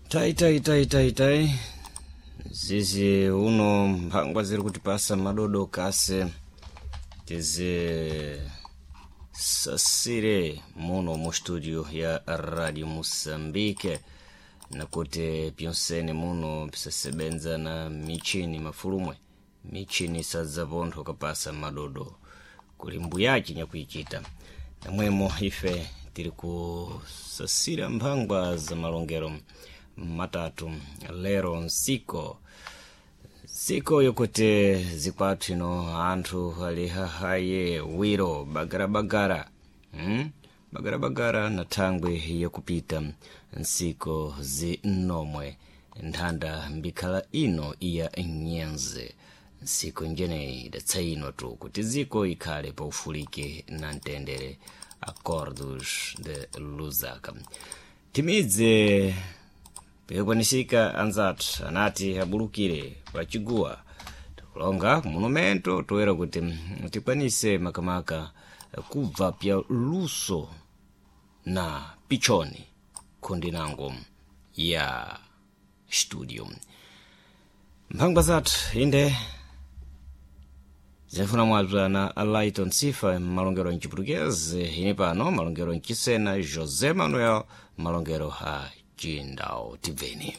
Tai tai tai tai tai zizi uno mphangwa ziri kutipasa madodo kase tizi sasire muno mu studio ya Radio Moçambique, nakuti pyonsene muno pisasebenza na michini mafulumwe michini sadzapontho kapasa madodo kuli mbuyaci nyakuichita namwemo ife tiri kusasira mphangwa za malongero matatu lero nsiko nsiko yokuti zikwathu ino anthu ali hahaye wiro bagarabagara, Bagarabagara na thangwi yakupita nsiko zinomwe nthanda mbikhala ino iya nyenze nsiko njeneyi idatsa ino tu kuti ziko ikhale paufulike na mtendere. Acordos de Lusaka timidze pikukwanisika anzathu anati abulukire pachiguwa tikulonga monumento toera kuti tikwanise makamaka kubva pya luso na pichoni khundi nango ya studio mphangwa zathu inde zinfuna mwabza na Lighton Sifa malongero mchiputukezi, ine pano malongero mchisena José Manuel malongero a Chindau. Tibveni.